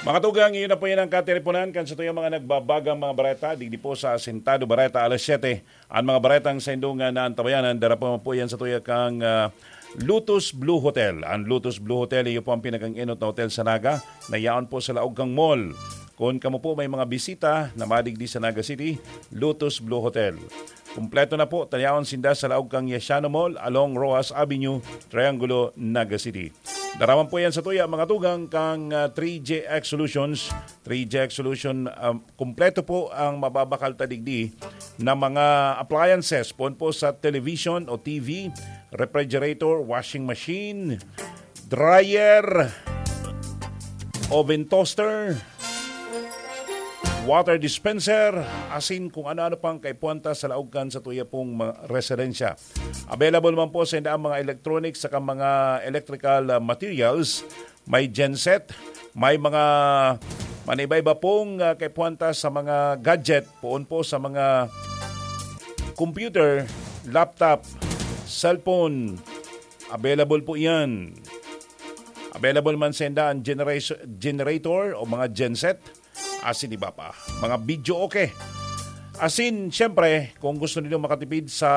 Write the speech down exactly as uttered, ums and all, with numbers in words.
Mga tugang, iyon na po yan ang kateleponan kan satuyang mga nagbabagang mga bareta digdi po sa Asentado Bareta, alas siyete. An mga baretang saindong, ah, naantabayanan, dara pa man po yan satuya kang, ah, Lotus Blue Hotel. An Lotus Blue Hotel, iyo po ang pinakang-enot na hotel sa Naga, na yaon po sa laog kang mall. Kung kamo po may mga bisita na madigdi sa Naga City, Lotus Blue Hotel. Kumpleto na po, ta yaon sinda sa laog kang Yasiano Mall, along Roxas Avenue, Triangulo, Naga City. Dara man po yan satuya, mga tugang, kang, ah, three J X Solutions. Three J X Solution, um, kumpleto po ang mababakal ta digdi na mga appliances, poon po sa television o T V, refrigerator, washing machine, dryer, oven toaster, water dispenser, asin kung ano-ano pang kaipuhan ta sa laog kan satuya pong mga residensya. Available man po sa inda ang mga electronics saka mga electrical, ah, materials. May genset, may mga maniba-iba pong, ah, kaipuhan ta sa mga gadget, poon po sa mga computer, laptop, cellphone. Available po yan. Available man sa inda ang generation, generator o mga genset. Asin iba pa. Mga video okay. Asin, siyempre, kung gusto niyo makatipid sa